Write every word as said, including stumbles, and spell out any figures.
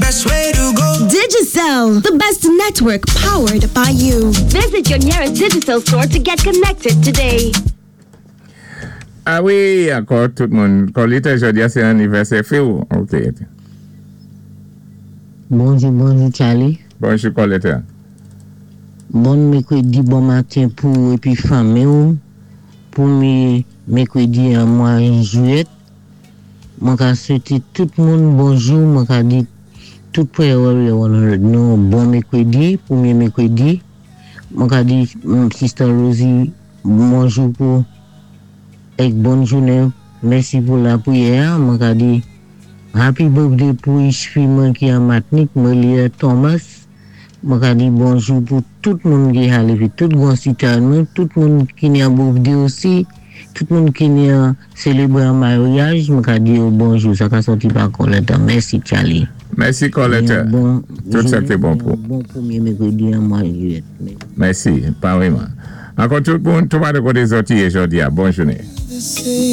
best way to go. Digicel, the best network powered by you. Visit your nearest Digicel store to get connected today. Ah wi, ankò tout moun. Colita, jòdi a sé anivèsè fi ou? OK. Bonjou, bonjou Charlie. Bonjou Colita. Bon mèkwédi, bon maten pou épi fanmi ou. Pwémyé mèkwédi an mwa jwiyèt. Mwen ka swété tout moun bonjou, mwen ka di tout Prayer Warrior nou bon mèkwédi, pwémyé mèkwédi. Mwen ka di mm, Sister Rosie bonjou pou èk bòn jounen. Mèsi pou lapwiyè. Mwen ka di happy birthday pou fi mwen ki an Matnik, Melia Thomas. Mwen ka di bonjou pou tout moun ki alé épi tout gran sitwayen, tout moun ki ni an birthday osi, tout moun ki ni an sélébré an maryaj, mwen ka di yo bonjou, sa ka sòti pa Coletta. Mèsi Charlie. Mèsi Coletta. Bon, Tout sa ki bon pou. Bon pwémyé mèkwédi an mwa jwiyèt. Mèsi, pareillement. Ankò tout moun, tout moun de koté zòt jòdi a. Bòn jounen. Say